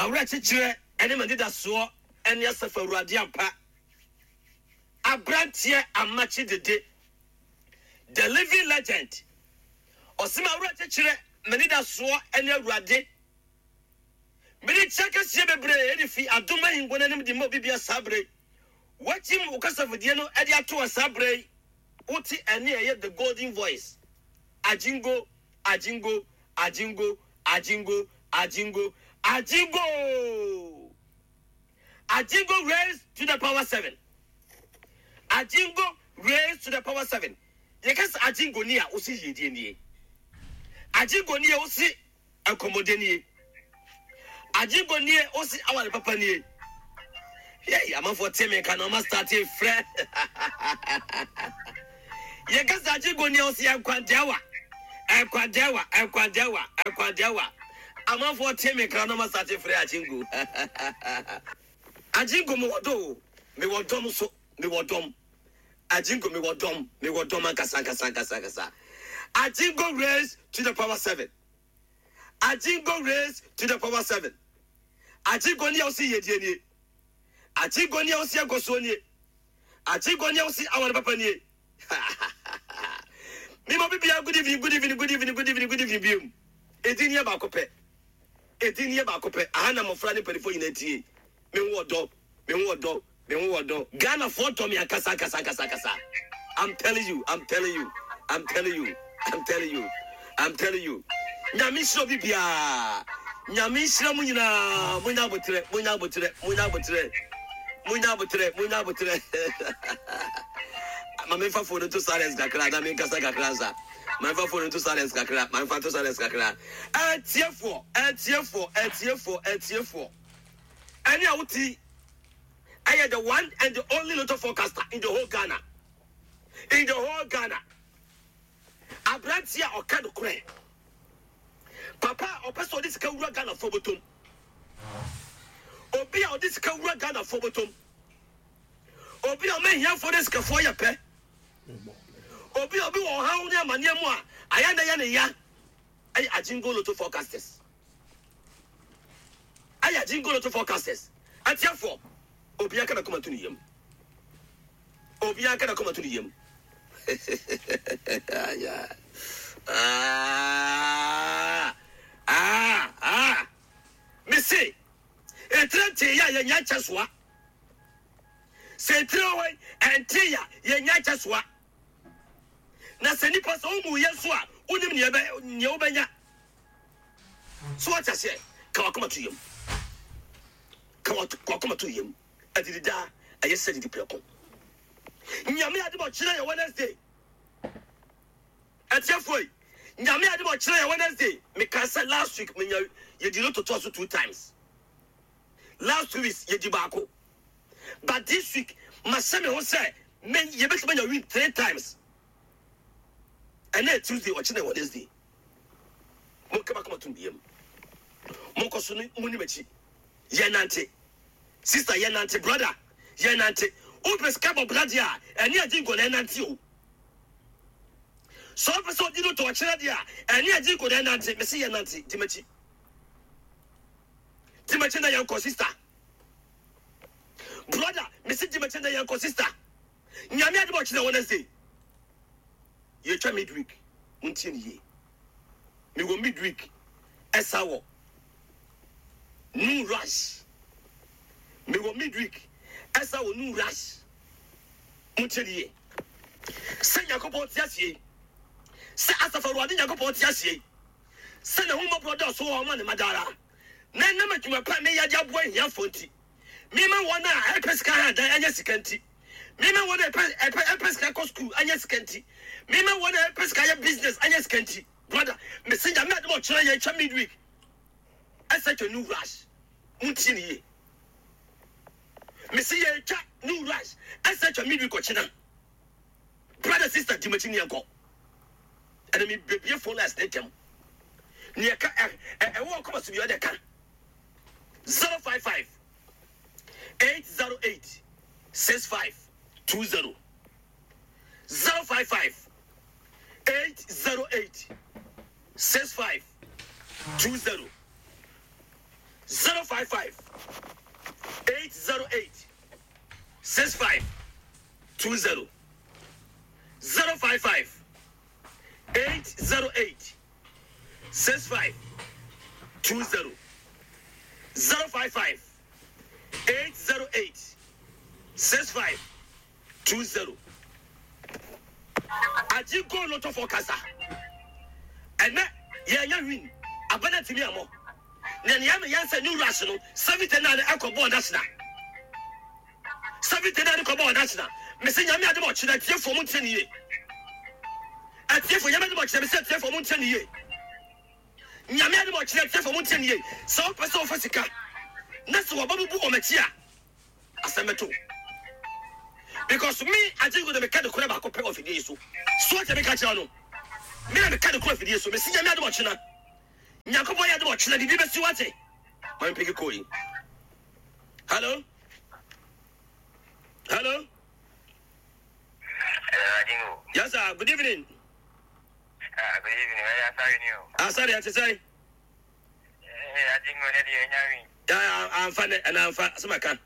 M'awerɛkyekyerɛ ne m'anidasoɔ ne Asafo Awurade ampa. Aberanteɛ Amakye Dede, the living legend. Ɔse m'awerɛkyekyerɛ, m'anidasoɔ ne Awurade. Mede kyɛ kɛseɛ bebree de fi adom ahengua no anim de ma obi bia saa berɛ yi. Woakyim wo kasafidie no de ato hɔ saa berɛ yi. Wote ɛnne a ɛyɛ the golden voice. Agyingo, agyingo, agyingo, agyingo, agyingo, agyingo! Agyingo raised to the power seven. Agyingo raised to the power seven. Yɛka sɛ agyingo ni a, wose yiedie nie. Agyingo nie, wose Nkɔmmɔdɛ nie. Agyenko nie ose aware papa nie. Yei amanfoɔ te me nka na ɔma starte frɛ. Yɛka sɛ agyenko nie ose nkwadɛwa. Nkwadɛwa, nkwadɛwa, nkwadɛwa. Amanfoɔ te me nka na ɔma starte frɛ agyenko. Agyenko mewɔ dɔ o, mewɔ dɔm so, mewɔ dɔm. Agyenko mewɔ dɔm, mewɔ dɔm ankasa ankasa ankasa ankasa. Agyenko raised to the power seven. Agyenko raised to the power seven. Agyenko ni a wosi yedie nie. Agyenko ni a wosi nkɔsoɔ nie. Agyenko ni a wosi aware papa nie. Mema bibia good evening, good evening, good evening, good evening, good evening biom. Edin yɛ baako pɛ. Edin yɛ baako pɛ. Aha na mmɔfra ne mpanimfoɔ nyinaa tie. Me ho ɔdɔ, me ho ɔdɔ, me ho ɔdɔ. Ghana foɔ dɔ me ankasa ankasa ankasa ankasa. I'm telling you, I'm telling you, I'm telling you, I'm telling you, I'm telling you. Nyame nhyira obi biara. Nyame nhyira mo nyinaa. Monya abotrɛ, monya abotrɛ, monya abotrɛ. Monya abotrɛ, monya abotrɛ. Ma memfa phone nto silence kakra na menkasa kakra nsa. Ma memfa phone nto silence kakra, ma memfa nto silence kakra. Atiefoɔ, atiefoɔ, atiefoɔ, atiefoɔ. Ɛne a wote ɛyɛ the one and the only lotto forecaster in the whole Ghana. In the whole Ghana. Aberanteɛ a ɔka nokorɛ. Papa a ɔpɛ sɛ ɔde sika wura Ghanafoɔ bɔtɔm. Obi a ɔde sika wura Ghanafoɔ bɔtɔm. Obi a ɔma ahiafoɔ ne sikafoɔ yɛ pɛ. Obi a obi wɔ ɔhaw ne amaneɛ mu a ayɛ na yɛ ne ya. Ɛyɛ Ajingo Lotto Forecasters. Ɛyɛ Ajingo Lotto Forecasters. Atiafoɔ, obiara ka n'akoma to ne yam. Obiara ka n'akoma to ne yam. Ah, ah, ah. Mese, etire ntee yɛ a yɛnya nkyɛ soa. Sɛ etire wɔ hɔ yi, ɛntee yɛ a yɛnya nkyɛ soa. Na sɛ nipa sɛ womu yɛ nso a, wonim nea ɛbɛ nea wobɛnya. So wate aseɛ? Ka wakoma to yam. Ka wakoma to yam. Adidi daa, ɛyɛ sɛ didi prɛko. Nyame ade bɔ kyerɛ yɛ Wednesday. Atiefo yi, Nyame ade bɔ kyerɛ yɛ Wednesday. Meka sɛ last week menya yɛdi no totoa so two times. Last 2 weeks yɛdi baako. But this week mahyɛ me ho sɛ me yɛbɛtumi anya win three times. Ɛnɛ Tuesday, ɔkyena Wednesday. Monka makoma tom biam. Monkɔ so ne monni m'akyi. Yɛnante. Sister yɛnante, brother yɛnante. Wopɛ sika bɔ bra deɛ a, ɛne agye nkɔ na ɛnante o. Sɛ wopɛ sɛ ɔdi no tɔ ɔkyena deɛ a, ɛne agye nkɔ na ɛnante. Mese yɛnante, di m'akyi. Di m'akyi na yɛnkɔ sister. Brother, mese di m'akyi na yɛnkɔ sister. Nyame adom ɔkyena Wednesday. Yɛtwa midweek. Montie ne yie. Mewɔ midweek ɛsa wɔ New Rush. Mewɔ midweek ɛsa wɔ New Rush. Montie ne yie. Sɛ Nyankopɔn te aseɛ yi, sɛ Asafo Awurade Nyankopɔn te aseɛ yi, sɛ n'ahummɔborɔ dɔɔso wɔ hɔ ma ne mma daa ara, na ɛnam adwuma pa a meyɛ de aboa ahiafoɔ nti, mema wɔn a ɛpɛ sika ha dan anya sika nti, mema wɔn a ɛpɛ ɛpɛ ɛpɛ sika kɔ sukuu anya sika nti, mema wɔn a ɛpɛ sika yɛ business anya sika nti, brother, mese Nyame adom a ɔkyerɛ yɛn twa midweek ɛsɛ twa new rush. Montie ne yie. Mese yɛtwa new rush ɛsɛ twa midweek ɔkyena. Brother sister di m'akyi ne yɛnkɔ. Ɛna me bebie phone lines ne ntɛm. Ne ɛka ɛ ɛwɔ ɔkɔma so bi ɔde ka. 055 808 6520 055 808 6520. 055 808 65 20 055 808 65 20 055 808 65 20 Agye goal no tɔfɔ kasa ɛnɛ yɛnya win aba no atumi amɔ na nea ɛmɛ yɛn sɛ new rush no 79 ɛkɔ bɔɔl national 79 kɔ bɔɔl national mese nyame adom ɔkyena atiefoɔ mo ntie ne yie atiefoɔ nyame adom ɔkyena mese atiefoɔ mo ntie ne yie nyame adom ɔkyena atiefoɔ mo ntie ne yie sɛ wopɛ sɛ wofa sika na sɛ wɔba bubu wɔn akyi a asɛm bɛto wo because me agyenko de meka de korɛ baako pɛ wɔ afidie yi so so ɔkyɛ meka kyerɛ no me na meka de korɛ afidie so mesi nyame adom ɔkyena nyankopɔn yɛ adom ɔkyena biribi bɛsi wate ma mepeke kɔɔ yi. Hello hello. Hello, Yes sir, good evening. Ah, good evening. Ɛyɛ asare ni o. Asare ɛte sɛn? Ee, Adingo ne deɛ ɛnya wi. Amfa nɛ ɛna amfa sɛ maka. Ɛɛ,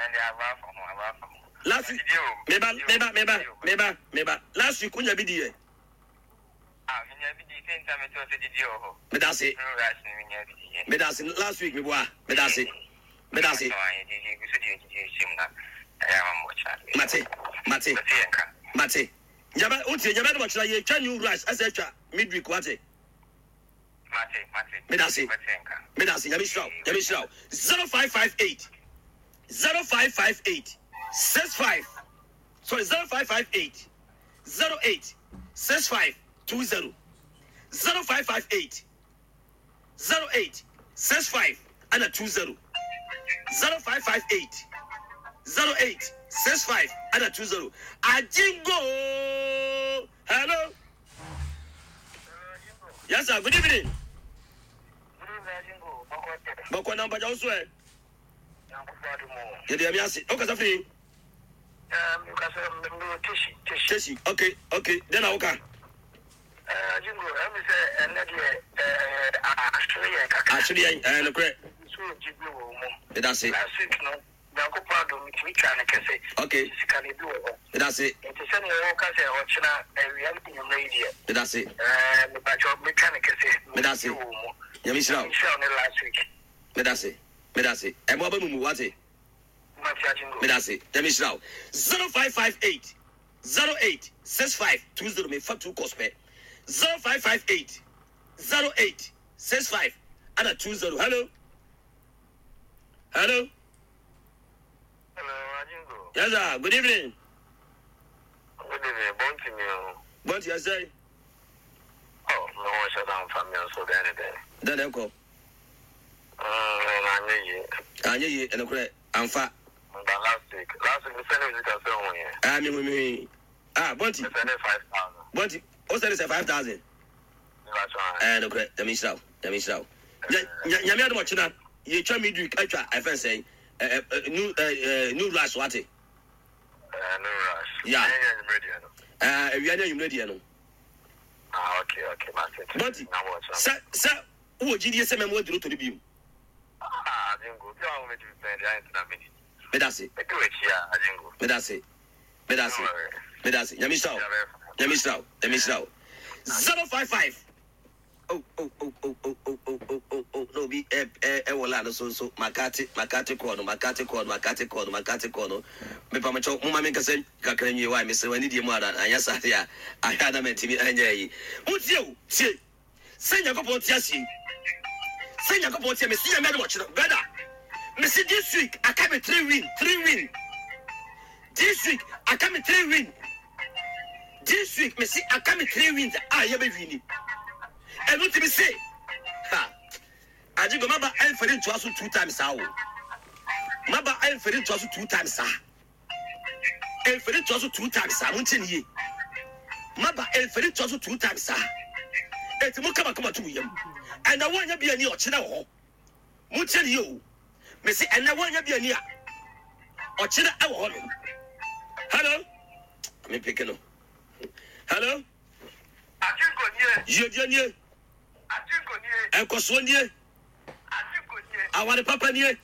ɛde aba afa ho, aba afa ho. Last week, meba, meba, meba, meba, meba. Last week, wonya bi di yɛ. Ah, menya bi di sɛ nta metɔ sɛ didi wɔ hɔ. Meda ase. Meda ase last week meboa. Meda ase. Meda ase. Mate, mate, mate. Nyaba, wotie, nyaba de wɔkyerɛ yɛtwa new rush ɛsɛ atwa midweek wate. Meda ase. Meda ase. Nyame hyira wo. Nyame hyira wo. 0558 0558 65 sorry 0558 08 65 20 0558 08 65 ɛna 20 0558 08 65 ɛna 20 Ajingo hello yes sir good evening bɔkɔ na mpagya wo so ɛ yɛde ɛmi ase wokasa firi Teshi ok ok dɛn na woka. Jingo, ɛmi sɛ ɛnɛ deɛ ahwere yɛn kakra. Ahwere yɛn ɛɛ nokorɛ. Nso yɛ gyidie wɔ mu. Meda se. Last week no, Nyankopɔn adom metumi twaa no kɛse. Ok. Sika no ebi wɔ hɔ. Meda se. Nti sɛdeɛ woka sɛ ɔkyena awia ne anwummerɛ yi deɛ. Meda se. Ɛɛ mepakyɛw metwa no kɛse. Meda se. Wɔ mu. Nyame nhyira wo. Nyame nhyira wo ne last week. Meda se. Meda se. Ɛmo aba mu mu wate. Medase Nyame nhyira wo. 0558 08 65 20 me fa two calls pɛ 0558 08 65 ana 20 hello hello. Hello, Ajingo. Yes sir, good evening. Good evening, Bonti mi o. Bonti ɛsɛ. Oh, me ho hyɛ da nfa mi nso dɛn ne dɛn. Dɛn na ɛkɔ. Mm, anyɛ yie. Anyɛ yie, ɛnokorɛ, amfa. But last week, last week, mesɛne wo sika sɛ wohu yɛ. Ah, mehu, mehu. Ah, Bonti. Mesɛne 5,000. Bonti, wo sɛne sɛ 5,000? Ɛɛ, nokorɛ, Nyame nhyira wo, Nyame nhyira wo. Nyame adom ɔkyena, yɛtwa midweek atwa ɛfɛn sɛn, new, new rush, wate? New rush. Yeah. Ɛnyɛ anwummerɛ deɛ no. Ɛɛ, awia ne anwummerɛ deɛ no. Ah, okay, okay, mate. Bonti, sɛ, sɛ, Wowɔ gyidie sɛ mɛma woaduru tɔ no bio? Medase. Medase. Medase. Medase. Nyame nhyira wo. Nyame nhyira wo. Nyame nhyira wo. 055 Oh, oh, oh, oh, oh, oh, oh, oh, oh, oh, na obi ɛ ɛ ɛwɔ line no so nso makate makate kɔɔ no makate kɔɔ no makate kɔɔ no makate kɔɔ no mepamokyɛw moma menkasa kakra nwie wae mesrɛ w'ani die mu ara anyɛ saa deɛ a ahwɛ a na mantumi anyɛ ayi montie o tie Sɛ Nyankopɔn te ase yi, sɛ Nyankopɔn te mesi Nyame adom ɔkyena. Brother, mesi this week aka me three win, three win. This week aka me three win. This week mesi aka me three wins a yɛbɛ wini. Ɛno ti me se, ha, agye gɔ maba ɛmfɛre ntoa so two times saa o. Maba ɛmfɛre ntoa so two times saa. Mfiri toa so two times saa montie ne yie maba mfiri toa so two times saa eti mo kama kama to mo yam ɛnna wɔnyɛ bi ani ɔkyena wɔ hɔ montie ne yie o mesi ɛnna wɔnyɛ bi ani a ɔkyena ɛwɔ hɔ nom hello me peke no hello Atinko nie. Yiedie nie. Atinko nie. Nkɔsoɔ nie. Atinko nie. Aware papa nie.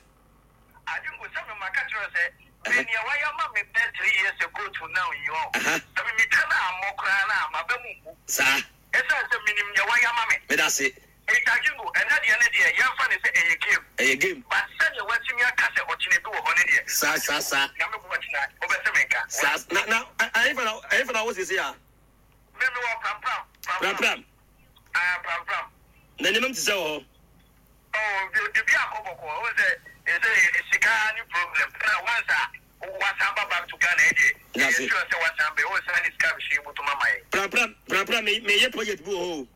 Adingo sɛ me ma ka kyerɛ wo sɛ me nea wayɛ ama me bɛɛ 3 years ago to now yi ɔ. Sɛ me metwa no ammɔ koraa no a maba mu mmu. Saa. Ɛsiane sɛ menim nea wayɛ ama me. Meda ase. Enti Adingo ɛnɛ deɛ ne deɛ yɛmfa no sɛ ɛyɛ game. Ɛyɛ game. But sɛdeɛ watumi aka sɛ ɔkyena bi wɔ hɔ no deɛ. Saa saa saa. Nyame boa kyena wobɛte me nka. Saa na na ɛhefa na ɛhefa na wɔ seesei a? Me mewɔ Prampram. Prampram. Ah Prampram. Na nneɛma mu te sɛ wɔ hɔ? Oh biribi akɔ bɔkɔɔ wohu sɛ ɛsɛ sika ne problem ɛna once a wasan ba back to Ghana yi deɛ yɛyɛ sure sɛ wasan bɛ wosan ne sika bɛhyɛ yɛ bɔtɔm ama yɛn. Prampram Prampram me meyɛ project bi wɔ hɔ o.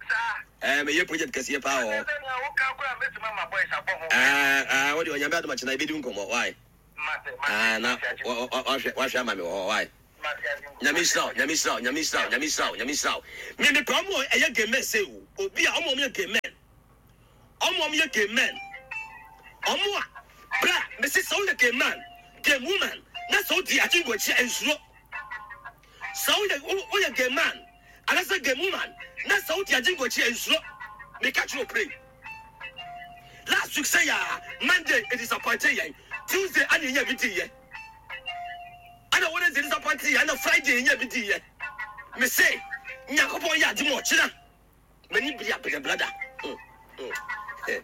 Saa. Ɛɛ meyɛ project kɛseɛ paa wɔ hɔ. Ɛsɛ nea woka koraa mɛtumi ama boys abɔ ho. Ɛɛ ɛɛ wode Onyame adom akyena yɛbɛdi nkɔmmɔ why? Mate mate Ɛɛ na mate agye. wahwɛ wahwɛ ama me wɔ hɔ why? Nyame nhyira wo, Nyame nhyira wo, Nyame nhyira wo, Nyame nhyira wo, Nyame nhyira wo. Me mepɛ ɔmo a ɛyɛ gay men sei o. Obi a ɔmo a ɔmo yɛ gay men. Ɔmo a ɔmo yɛ gay men. Ɔmo a bra mese sɛ woyɛ gay man, gay woman na sɛ wodi agyengo akyi a nsuro. Sɛ woyɛ woyɛ gay man anaasɛ gay woman na sɛ wodi agyengo akyi a nsuro. Meka kyerɛ wo pray. Last week sɛ yaa Monday e disappointe yɛn. Tuesday ana yɛnya bi di yɛ. Ɛna Wednesday disappoint yɛ, ɛna Friday yɛnya bi di yɛ. Me se, Nyankopɔn yɛ ade mu ɔkyena. M'ani biri abɛdɛ brother. Mm, mm.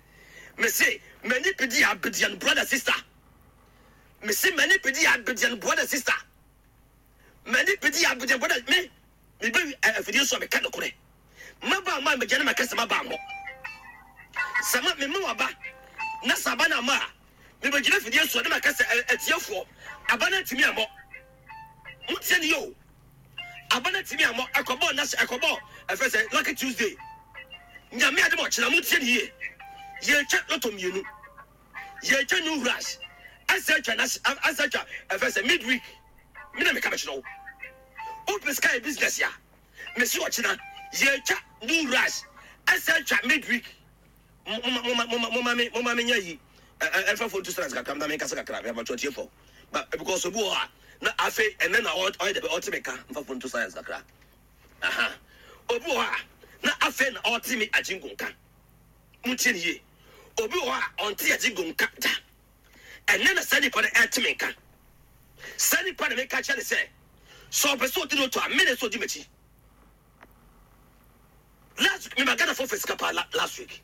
Me se, m'ani bidi abɛdeɛ no brother sister. Me se, m'ani bidi abɛdeɛ no brother sister. M'ani bidi abɛdeɛ brother me. Me bɛ afidie so a meka nokorɛ. Maba ama megya ne maka sɛ maba mmɔ. Sɛ ma mema waba na sɛ aba no amma a Mebɛgyina afidie so na maka sɛ, Atiefoɔ, aba no antumi ammɔ. Montie no yie o. Aba no antumi ammɔ. Ɛkɔbɔɔ nna ɛkɔbɔɔ ɛfɛ sɛ Lucky Tuesday. Nyame adom ɔkyena, montie no yie. Yɛretwa lotto mmienu. Yɛretwa New Rush. Ɛsɛ atwa na ɛsɛ atwa ɛfɛ sɛ midweek. Me na meka mekyerɛ wo. Wopɛ sika yɛ business a, mesi ɔkyena yɛretwa New Rush. Ɛsɛ atwa midweek. Moma moma moma moma me moma me nya yi ɛnfa phone to silence kakra na me nkasa kakra me abatwa tie fo ba because obi wɔ hɔ a na afei ɛnɛ na ɔyɛ dɛbɛ ɔte me ka nfa phone to silence kakra aha obi wɔ hɔ a na afei na ɔte me agyingo nka mo tie ne yie obi wɔ hɔ a ɔnte agyingo nka da ɛnɛ na saa nipa no ɛte me nka saa nipa na meka kyerɛ ne sɛ sɛ ɔpɛ sɛ ɔdi no to a me na ɛsɛ ɔdi m'akyi. Last week me ma Ghana fo fɛ sika paa last week.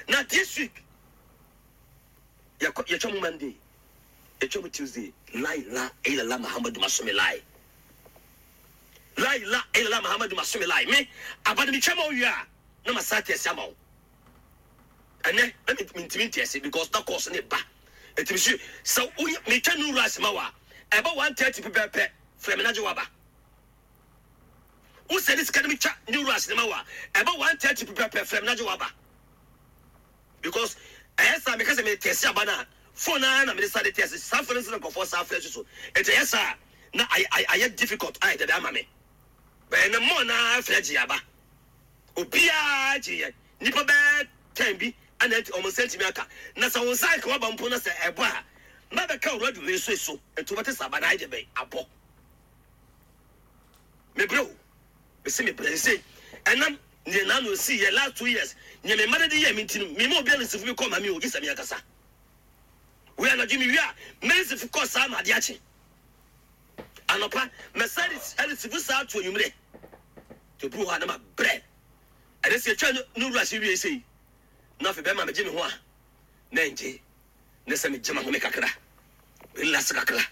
Na this week yɛkɔ yɛtwa mu Monday, yɛtwa mu Tuesday. La ilaha illallah Muhammadu masome lai. La ilaha illallah Muhammadu masome lai. Me abade me twa ma owie a na ma sa tɛsi ama wo. Ɛnɛ na me ntimi ntɛsi because na course ne ba. Ɛtimi si sɛ wo me twa new rice ma wa ɛbɛ 1:30 pɛpɛpɛ frɛ me na gye waba. Wo sɛne sika no me twa new rush no ma wo a ɛbɛ 1:30 pɛpɛpɛ frɛ me na gye waba because ɛyɛ saa meka sɛ me tɛsi aba no a phone ara na mede sa de tɛsi saa phone nso na nkurɔfoɔ saa frɛ so ɛti ɛyɛ saa na ayɛ ayɛ difficult ayɛ dɛdɛ ama me bɛyɛ ne mmɔɔ na frɛ gye aba obiara gye yɛ nipa bɛɛ tɛn bi ɛna ɛnti wɔn nsa ntumi aka na sɛ wɔn nsa anka waba mpo na sɛ ɛbɔ a mɛbɛka owura dwuma so so ɛti wɔbɛte sɛ aba na ayɛ dɛ bɛn abɔ. Mebrɛ o, mese mebrɛ sesei ɛnam neɛ naano esii yɛ last 2 years neɛ me mma no de yɛɛ me nti no mema obiara nsifo bi kɔ ma me o gye sɛ me ankasa. Wei anadwo mewie a mɛnsifo kɔ saa ma adeɛ akye anɔpa mɛsan ɛresifo saa to anwummerɛ nti obi wɔ hɔ a na mabrɛ ɛne sɛ yɛtwa no wura hyɛ wie sei na afei bɛma megye me ho a na ɛngye ne sɛ megye m'ahome kakra, relax kakra.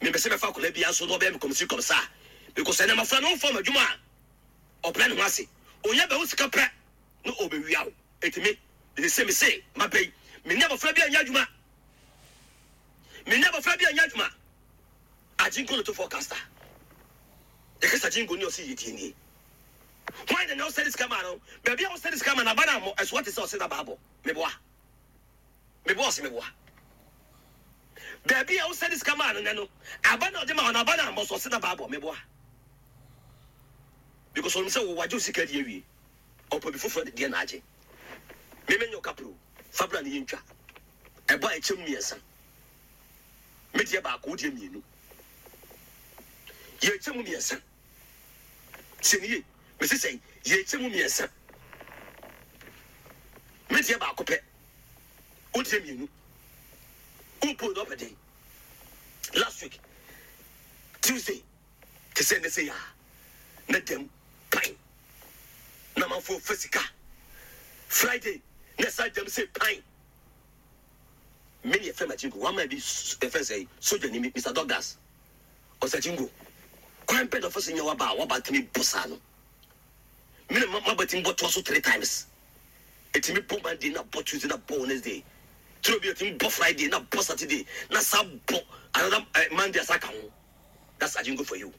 Mempɛ sɛ mɛfa akwadaa biara nso na ɔbɛyɛ me kɔmsi kɔmsa because ɛnɛ mmɔfra no wɔmfa wɔn adwuma a ɔbrɛ ne ho ase. Onya bɛho sika pɛ na ɔbɛwia wo. Enti me, mese sɛ mese maba yi, me ne abɔfra bi anyɛ adwuma. Me ne abɔfra bi anyɛ adwuma. Agyenko no to forecaster. Yɛkasa agyenko ni ɔse yɛtie nie. Hwan na na ɔsɛde sika maa no? Baabi a ɔsɛde sika ma no aba no ammɔ, ɛso ate sɛ ɔse na baabɔ. Meboa. Meboa ɔse meboa. Baabi a wosɛde sika maa no nɛ no, aba na ɔde ma ɔno aba na ammɔ so ɔse na baabɔ. Meboa. Because ɔnim sɛ wo wagye wo sika di awie. Ɔpɛ bi foforɔ de deɛ na agye. Me menyɛ ɔkapro. Fa bra ne yɛntwa. Ɛbɔ a ɛkyɛm mmiɛnsa. Me deɛ baako, wo deɛ mmienu. Yɛkyɛ mu mmiɛnsa. Tie ne yie. Mese sɛn? Yɛkyɛ mu mmiɛnsa. Me deɛ baako pɛ. Wotie mmienu. Wompo na ɔpɛ den. Last week Tuesday te sɛ nnɛ sei a na dam pan na amanfoɔ fa sika. Friday na ɛsan dam sei pan. Me ne yɛfrɛ Machinko one man bi yɛfrɛ sɛ sogyani Mr Douglas ɔsɛ Chingo kwan bɛn na ɔfa so nya waba a waba tumi bɔ saa no. Me na maba tumi bɔ toa so three times. Ɛtumi bɔ Monday na bɔ Tuesday na bɔ Wednesday. Turo bi ɛtumi bɔ Friday na bɔ Saturday na sa bɔ another Monday asa ka ho. That's Ajingo for you.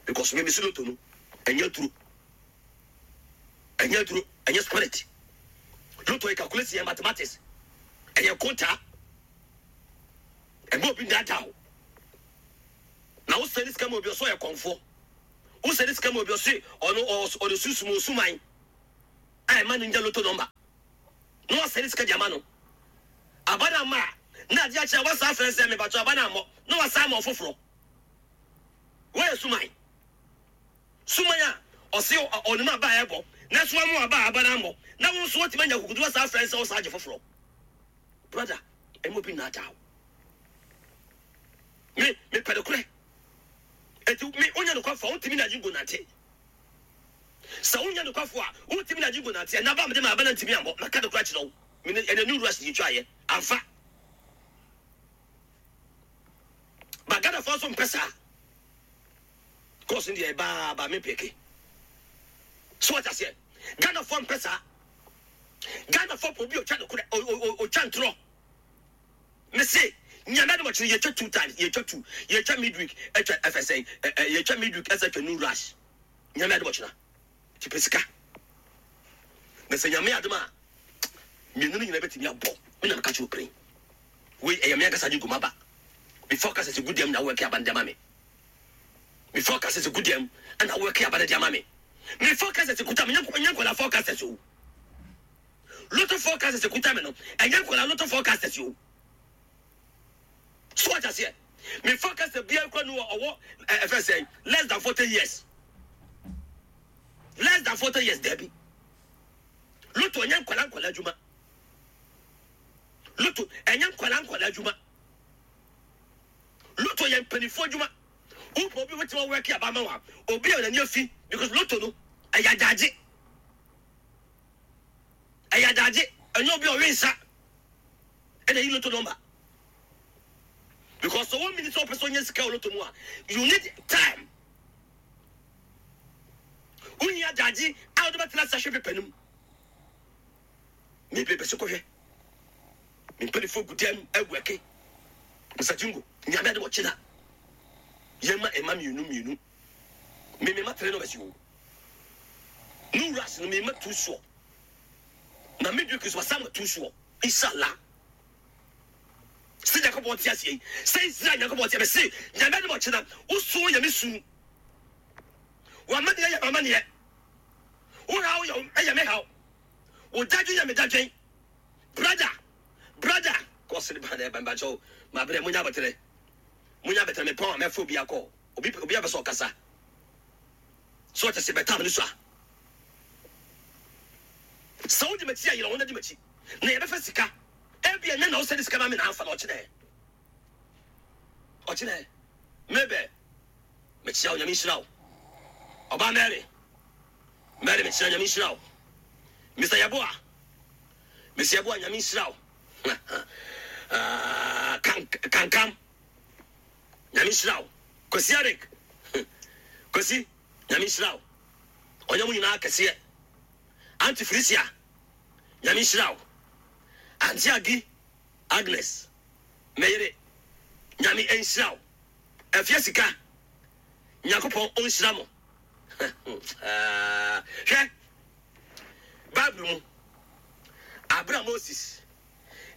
Because me mesi loto no ɛnyɛ duro. Ɛnyɛ duro, ɛnyɛ spirit. Loto yɛ calculation, yɛ mathematics. Ɛyɛ konta. Ɛmɛ obi ndaadaa o. Na wo sɛ ne sika ma obi ɔsɔ yɛ kɔnfoɔ. Wo sɛ ne sika ma obi ɔse ɔno ɔde sunsum osuman a ɛma no nya loto number na wasɛne sika de ama no. Aba no amma a, na adeɛ akye a wasan afrɛ sɛ mepakyɛw aba no ammɔ na wasan ama ɔfoforɔ. Woayɛ suman. Suman a ɔse ɔnim aba a ɛbɔ nanso wamma aba a aba no ammɔ na wo nso woatumi anya akokoduru asan afrɛ sɛ wosan agye foforɔ. Brother, ɛmma obi nnaadaa wo. Me, mepɛ nokorɛ. Enti me, wonyɛ nokwafo a, wontumi ne Agyenkwa nante. Sɛ wonyɛ nokwafo a, wontumi ne Agyenkwa nante. Ɛnna aba a mede maa aba no antumi ammɔ. Maka nokorɛ akyerɛ wo. Me ne, ɛnna New Rush yɛtwaeɛ. Amfa. Ba Ghanafoɔ nso mpɛ saa. Course no deɛ ɛbaa ba me peke. So what aseɛ? Ghanafoɔ mpɛ saa. Ghanafoɔ pɛ obi a ɔtwa nokorɛ, ɔtwa ntorɔ. Me se Nyame adom ɔkyena yɛtwa two times yɛtwa two yɛtwa midweek ɛtwa ɛfɛ sɛn ɛ ɛ yɛtwa midweek ɛsɛ twa new rush Nyame adom ɔkyena ti pɛ sika na sɛ Nyame adom a mmienu no nyina bɛtumi abɔ me na meka kyerɛ opere wei ɛyɛ me ankasa gye goma ba me focus sɛ gu dɛm na wɔke aba no de ama me me focus sɛ gu dɛm ɛna wɔke aba no de ama me me focus sɛ kuta me nyɛ nkɔla focus sɛ o. Lotto forecasters ekuta me no, ɛnyɛ nkwadaa lotto forecasters o. So wate aseɛ? Me forecaster biara kura no ɔwɔ ɛfɛ sɛ less than 40 years. Less than 40 years dabi. Lotto ɛnyɛ nkwadaa nkwadaa adwuma. Lotto ɛnyɛ nkwadaa nkwadaa adwuma. Lotto yɛ mpanimfoɔ adwuma. Wopɛ obi wobɛtumi awɔke aba ama wa. Obi a n'ani afi because lotto no ɛyɛ adagye. Ɛyɛ adagye, ɛnyɛ obi a ɔwe nsa ɛna ɛyi lotto number. Because sɛ wɔn mini sɛ ɔpɛ sɛ ɔnya sika wɔ lotto mu a, you need time. Wohia adagye a wɔde bɛtena ase ahwɛ pepa no mu. Mepɛ bɛsɛ kɔhwɛ. Me mpanimfoɔ gu dɛm awɛke. Mr. Jingo, nyame ade wɔkye na. Yɛma ɛma mmienu mmienu. Me mema three numbers o. No rush no mema two soɔ. Na me dwe Christmas sama two soɔ. Inshallah. Sɛ Nyankopɔn te aseɛ yi, sɛ Israel Nyankopɔn te mese Nyame adom ɔkyena, wo su yɛ me su. W'amaneɛ yɛ m'amaneɛ. Wo haw yɛ yɛ me haw. Wo dadwen yɛ me dadwen. Brother, brother. Kɔsere ba na ɛba mbakyɛw. Mabrɛ munya abɔterɛ. Munya abɛtɛrɛ mepɔn a mɛfo bi akɔ. Obi obi a pɛ sɛ ɔkasa. So ɔte se bɛtam no so a. Sɛ wodi m'akyi a yere ho na di m'akyi. Na yɛbɛfa sika. Ebia nnɛ na wosɛde sika ma me na amfa na ɔkyena ɛ. Ɔkyena ɛ. Mabel, mekyia wo, Nyame nhyira wo. Ɔbaa Mary, Mary mekyia Nyame nhyira wo. Mr. Yeboah, Mr. Yeboah Nyame nhyira wo. Ah, kankam. Nyame nhyira wo Kwasi Eric Kwasi Nyame nhyira wo Ɔnyɛ mo nyinaa kɛseɛ Auntie Felicia Nyame nhyira wo Auntie Agi Agnes me yere Nyame nhyira wo Afia Sika Nyankopɔn ɔnhyira mo Hwɛ Bible mu abere a Moses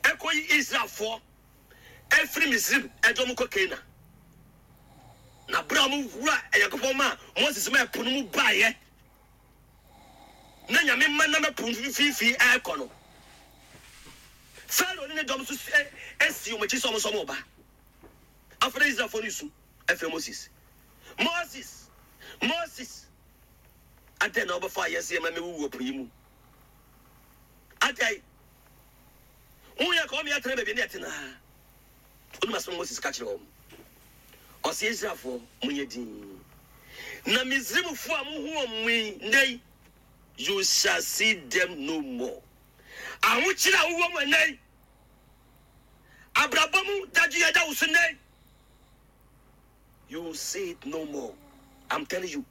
ɛkɔyi Israelfoɔ afiri Misraim de wɔn kɔ Kanaan. Na berɛ a wɔwura Nyankopɔn maa Moses ma ɛpo no mu baeɛ na Nyame ma nam ɛpo mfimfini ɛrekɔ no, Farao ne ne dɔm nso si wɔn akyi sɛ wɔn nso wɔn reba. Afei na Israelfoɔ no resu afrɛ Moses. Moses! Moses! Adɛn na wobɛfa yɛn sɛ yɛmmra mmɛwuwu wɔ po yi mu? Adɛn? Woyɛ kɔɔ ma yɛatena baabi a na yɛte no ara. Wonim asɛm a Moses ka kyerɛɛ wɔn? Ɔse, Israelfoɔ, monyɛ dinn. Na Misraimfoɔ a mohu wɔn yi nnɛ yi, you shall see them no more. Ahokyere a wowɔ mu ɛnnɛ yi, abrabɔ mu dadwen a ɛda wo so nnɛ yi, you will see it no more. I'm telling you,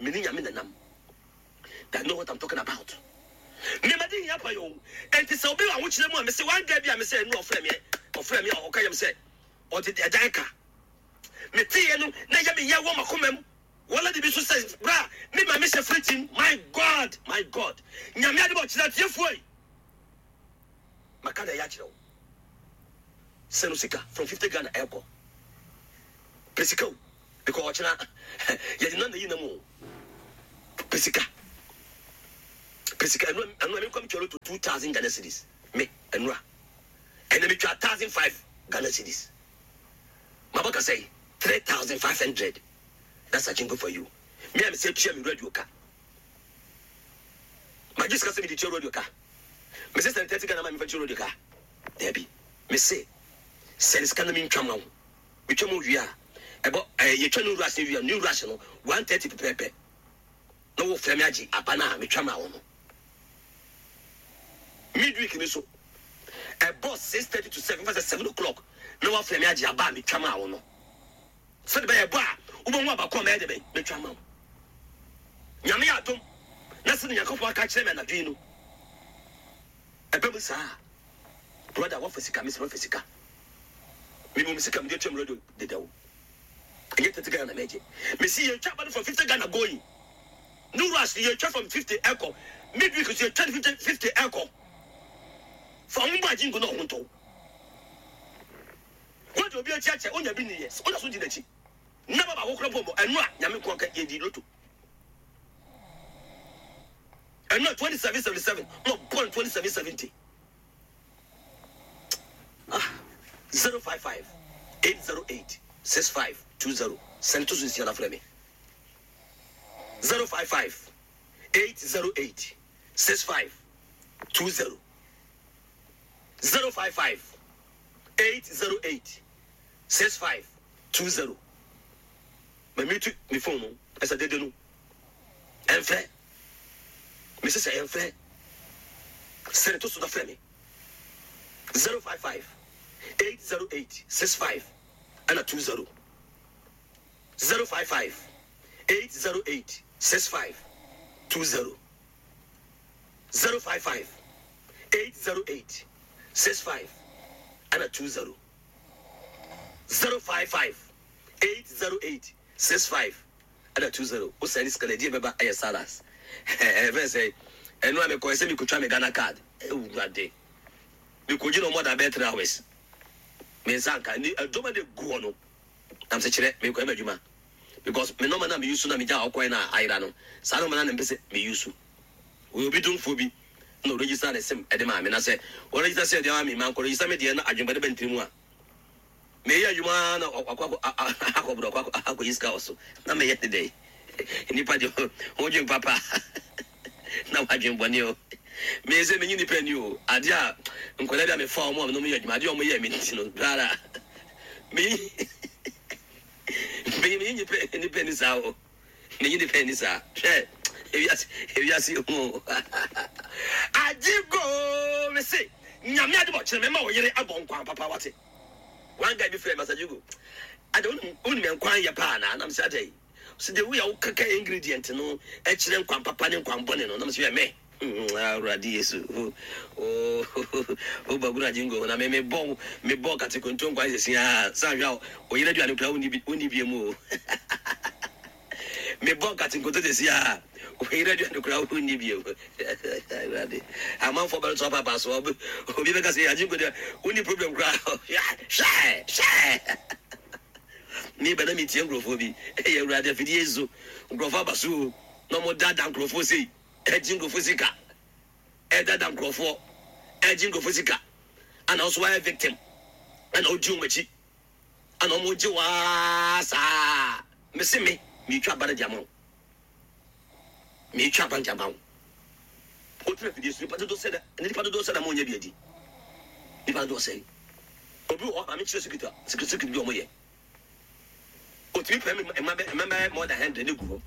me ne Nyame nanam. I know what I'm talking about. Me ma di hia pa yo. Enti sɛ obi wɔ ahokyere mu a, me se one guy bi a me sɛ ɛnu ɔfrɛ me, ɔfrɛ me a ɔka yam sɛ ɔde ɛdan ka. Me teeɛ no na ɛyɛ me yɛ wɔ makoma mu. Wɔla de bi so sɛ bra me ma me hyɛ fridge mu. My God, my God. Nyame ade bɔ kyerɛ atiefoɔ yi. Maka na ɛyɛ akyerɛ wo. Sɛ no sika from 50 Ghana ɛkɔ. Pɛ sika o. Because ɔkyena yɛde nam na yi nam o. Pɛ sika. Pɛ sika. Ɛno ɛno me nkwa me twa loto 2000 Ghana cedis. Me ɛno a. Ɛna me twa 1005 Ghana cedis. Mabɔ kasa yi 3500. That's a jingle for you. Me a me sɛ tua me radio ka. Magye sika sɛ mede tua radio ka. Me se sɛne 30 Ghana ma mefa tua radio ka. Daabi. Me se sɛne sika na mentwa ma wo. Metwa mu wie a, ɛbɔ ɛɛ yɛtwa new rush no wie a, new rush no 1:30 pɛpɛɛpɛ na wofrɛ me agye aba no a metwa maa wo no. Midweek no so ɛbɔ 6:30 to 7, fa sɛ 7 o'clock na wafrɛ me agye aba a metwa maa wo no. Sɛde bɛyɛ ɛbɔ a wobɛhu aba ko a mɛyɛ de bɛn metwa ama wo. Nyame yɛ adom na sɛde Nyankopɔn aka akyerɛ me anadwo yi no ɛbɛ mu saa. Brother wafa sika, mese mafa sika. Mewɔ me sika mede atua me radio dedaw. Ɛnyɛ 30 Ghana na mɛgye. Mese yɛtwa aba no from 50 Ghana going. New rush no yɛtwa from 50 ɛkɔ. Midweek nso yɛtwa no 50 50 ɛkɔ. Fa wo bɔ agye ngu na ɔho ntɔ wo. Wode obi akyi akyɛ wonya bi nniyɛ woda so di n'akyi. Nna ba baako kora mpo mmɔ ɛno a Nyame nko aka yɛdi loto. Ɛno a 2777 na ɔbɔ no 2770. Ah 055 808 6520 sɛne to so nsia na frɛ me. 055 808 6520 055 808 6520. Ma mute me phone no ɛsɛ dede no ɛmfrɛ me sɛ sɛ ɛmfrɛ sɛne to so na frɛ me 055 808 65 ɛna 20 055 808 65 20 055 808 65 ɛna 20 055 808 65 ɛna 20. Wo sɛne sika no ɛdeɛ bɛba ɛyɛ salas ɛfɛ sɛ ɛno a mekɔɛ sɛ mekɔtwa me Ghana card awurade mekɔgyi no more than bɛyɛ 3 hours me nsa nka ni ɛdɔm a de gu hɔ no nam sɛ kyerɛ mekɔɛ m'adwuma because me nɔma no a me use na megya ɔkɔɛ no a ayera no saa nɔma no a na mepɛ sɛ me use. Wɔyɛ obi domfoɔ bi na ɔregister ne sim de maa me na sɛ ɔregister sɛ ɛde ama me mankɔ register me deɛ na adwembɔne ba ne tiri mu a meyɛ adwuma ara na wakɔ akɔ akɔborɔ akɔ akɔyi sika wɔ so na meyɛ ne dɛn nnipa deɛ ho dwen papa na wadwen bɔne o meyɛ sɛ menye nnipa ani o adeɛ a nkwadaa bi a mefa wɔn a menom yɛ adwuma adeɛ a wɔyɛ me nti no biara menye menye nnipa ani saa o. Menye nipa nni saa. Hwɛ, ewiase, ewiase yɛ hu o. Ajigo, me se, Nyame adom ɔkyena mɛma wo yere abɔ nkwan papa wate. One guy bi frɛ me, Master Jigo, ada wonim, wonim nkwan yɛ paa anaa? Na me se, adɛn? Ɔse, the way a wokeka ingredient no kyerɛ nkwan papa ne nkwan bɔne no. Na me se, hwɛ me. Awurade Yesu, oh, oh, bagura jingo na me me bɔ me bɔ katekonto nkwan sɛsi a san hwɛ a oyere aduane kura wonni bi wonni bi mu o. Me bɔ katekonto sɛsi a oyere aduane kura wonni bi mu. Awurade, amanfoɔ bɛrɛ to apapa so obi bɛka sɛ ajingo deɛ wonni problem kura. Hwɛ hwɛ. Me bɛ na metie nkurɔfoɔ bi. Ɛyɛ Awurade afidie so nkurɔfoɔ aba so o na wɔn daadaa nkurɔfoɔ sei. Ɛgye nkurɔfoɔ sika, ɛdada nkurɔfoɔ, ɛgye nkurɔfoɔ sika, ɛna wo nso woayɛ victim, ɛna wodi wɔn akyi, ɛna wɔn gye wo ara saa. Mese me, meretwa aba no de ama wo. Meretwa aba no de ama wo. Wotena afidie so, nipa dodoɔ sɛ na, nipa dodoɔ sɛ na mo nyɛ bi adi. Nipa dodoɔ sɛn? Obi wɔ hɔ a, maame kyerɛ secret a, secret secret bi a wɔyɛ. Otumi pɛ mma bɛ mma bɛyɛ more than hundred ne gu hɔ.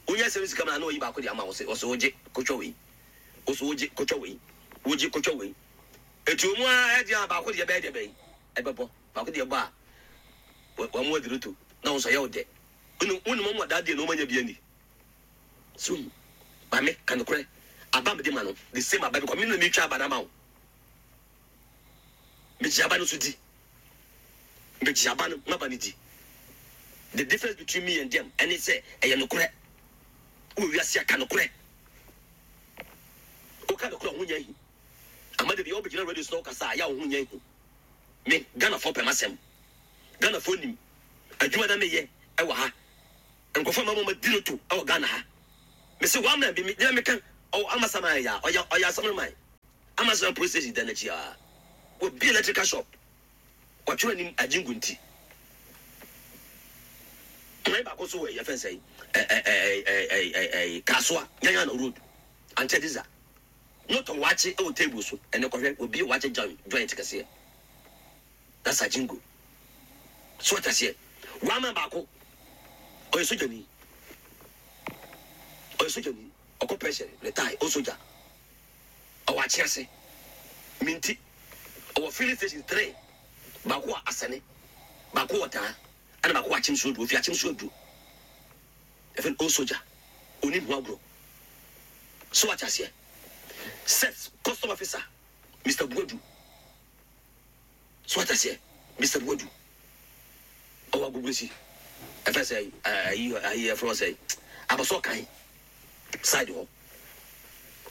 Wonya sɛm sika ma na ɔyi baako de ama wo sɛ ɔsɛ wogye kotwa wei. Ɔsɛ wogye kotwa wei. Wogye kotwa wei. Eti wɔn a ɛde a baako deɛ bɛyɛ deɛ bɛyi ɛbɛbɔ baako deɛ bɔ a wɔn mu aduru to na wɔn nso ɛyɛ wo dɛ. Wonim wɔn a daa deɛ na wɔn anya bi ani. So maame ka nokorɛ aba mede ma no the same aba because me na metwa aba no ama wo. Megye aba no so di. Megye aba no m'aba no di. The difference between me and them ɛne sɛ ɛyɛ nokorɛ. Wɔ wiase a ka nokorɛ. Woka nokorɛ ho nyɛ ahi. Ama da bi wobɛgyina radio so na wokasa a yɛ a wo ho nyɛ ahi. Me Ghanafoɔ pɛ m'asɛm. Ghanafoɔ nim adwuma na meyɛ ɛwɔ ha. Nkurɔfoɔ ama wɔn adi loto ɛwɔ Ghana ha. Mese one man bi me deɛ meka ɔwɔ Amasaman yɛ a ɔyɛ ɔyɛ Asamman. Amazon police station dan n'akyi aa. Wabue electrical shop. Watwerɛ anim Ajingu nti. Kwan baako nso wɔ yɛfɛn sɛn ɛɛ Kasoa Nyanyano road Ankyɛ Diza. Na ɔtɔn waakye wɔ table so. Ɛnɛ kɔhwɛ wabue waakye joint kɛseɛ. That's Ajingo. So wate aseɛ? One man baako ɔyɛ sogyani. Ɔyɛ sogyani. Ɔkɔ pension retire ɔyɛ sogya. Ɔwɔ Akyease, Minti. Ɔwɔ filling station three, baako wɔ Asɛne, baako wɔ Daa, ɛna baako wɔ Akyem Suaduro. Ofi Akyem Suaduro. Yɛfrɛ no Old Soldier. Onim ho agorɔ. So wate aseɛ? Seth, custom officer, Mister Buadu. So wate aseɛ? Mister Buadu. Ɔwɔ Agbogbloshie. Ɛfɛ sɛ ayi ayi ɛfrɛ wɔ sɛ Abɔsɔ kan side hɔ.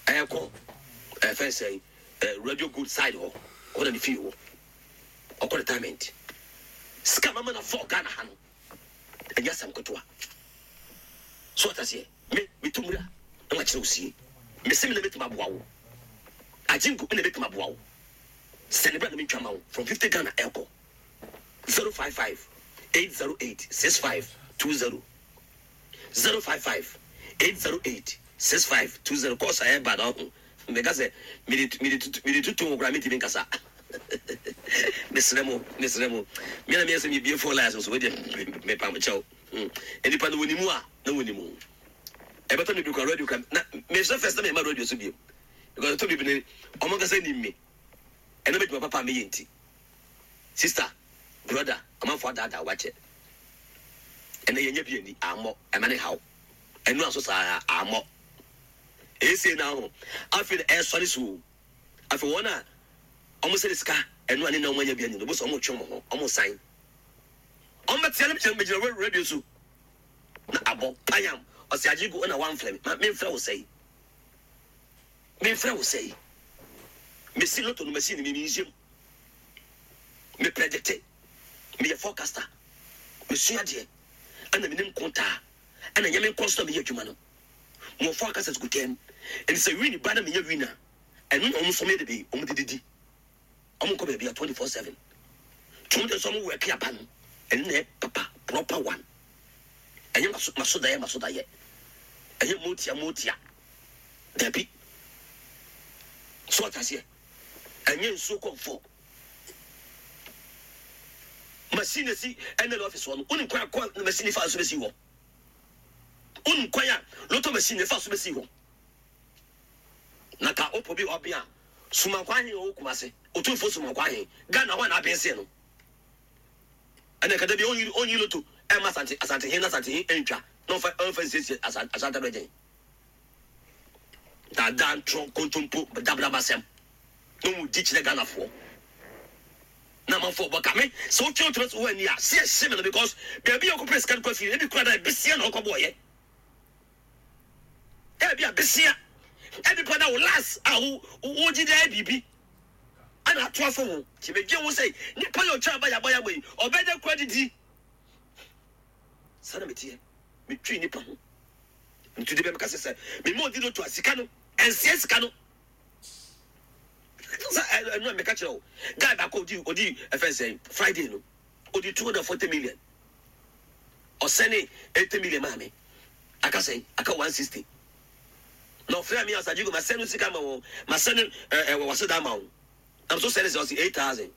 Ɛkɔ ɛfɛ sɛ Radio Gold side hɔ. Hɔ na ne fie wɔ. Ɔkɔ retirement. Sika mama na fɔ Ghana ha no. Ɛnyɛ asɛm ketewa. So wate aseɛ? Me metu mmira na makyerɛ wo sie. Mese me na mɛtumi aboa wo. Agyenku me na mɛtumi aboa wo. Sɛne bra na mentwa ma wo from 50 Ghana ɛkɔ 055 808 6520 055 808 6520 kɔɔso a ɛba na ɔho meka sɛ mede mede tutu mede tutu ho koraa mentumi nkasa mesrɛ mo mesrɛ mo me na meyɛ sɛ mebie phone lines nso wedeɛ mepa mo kyɛw nnipa no wɔnim a na wɔnim ɛbɛtɔ me bi kora radio kora na mesɛ first na mema radio so bio because ɛtɔ bi bi ne ɔmo ankasa nim me ɛna m'adwuma papa a meyɛ nti sister brother amanfo adaadaa wakyɛ ɛnɛ yɛnyɛ bi ani ammɔ ɛma ne haw ɛno aso saa ammɔ ɛsei na ho afei na ɛsɔre so o afei wɔn a ɔmo sɛ sika ɛno a ne na ɔmo anya bi ani no bó sɛ ɔmo twe ɔmo ho ɔmo san ɔmo bɛtea no gyina gyina radio so na abɔ payam ɔsɛ agye gu ɛna wamfrɛ me ma memfrɛ wo sɛe Memfrɛ wo sɛi. Mesi lotto no machine me menhyɛ mu. Me predicte. Meyɛ forecaster. Mesua adeɛ. Ɛna menim nkontaa. Ɛna ɛnyɛ me nko nso na meyɛ adwuma no. Mewɔ forecasters gu dɛm. Ɛnti sɛ win ba na menya win a, ɛno na wɔn nso wɔyɛ de bɛyi, wɔn de didi. Wɔn nkɔ baabi a 24/7. Nti wɔn deɛ nso wɔn work aba no, ɛno na ɛyɛ papa, proper one. Ɛnyɛ maso maso dayɛ maso dayɛ. Ɛnyɛ motia motia. Dabi. So wate aseɛ? Ɛnyɛ nsuo kɔmfɔ. Machine esi NL office hɔ no, wonim kwan a kɔ machine fa so bɛsi hɔ? Wonim kwan a lotto machine fa so bɛsi hɔ? Na ka wopɔ bi ɔben a, Sumankwa ahen ɔwɔ Kumase, Otumfoɔ Sumankwa ahen, Ghana hɔ a na aben sen no. Ɛna ka da bi ɔnyi ɔnyi lotto ɛma Asante Asante hen na Asante hen ɛntwa na ɔmfa ɔmfa nsiesie Asante Asante abɛgyen. Daadaa ntorɔ nkontompo dabrabasɛm na wɔn di kyerɛ Ghanafoɔ na amanfoɔ bɔ ka me sɛ wotwe wotena so wɔ ani a se ɛhye me no because baabi a ɔkɔpɛ sika no kɔ afiri ebi kura da besia na ɔkɔ bɔɔyɛ ebi a besia ebi kura da wo last a wo wogye de ayɛ biribi ɛna ato afɔ ho nti medwe ho sɛ nipa yɛ ɔtwa aba yaba yaba yi ɔbɛda kura didi saa na meteɛ metwe nipa ho. Nti de bɛ meka sɛ sɛ mema odi loto a sika no ɛnseɛ sika no sɛ ɛno a meka kyerɛ wo guy baako odi odi ɛfɛn sɛ Friday no odi 240 million ɔsɛne 80 million maa me aka sɛn aka 160 na ɔfrɛ me asagye go masɛne sika ma wɔn masɛne ɛɛ wɔ wase da ama wɔn. Na me so sɛ ne sɛ ɔse 8,000.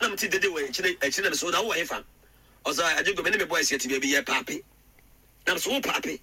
Na mete dede wɔ akyire akyire na me so na wowɔ hefa? Ɔse agye go me ne me boys yɛte baabi yɛ paape. Na me so wo paape?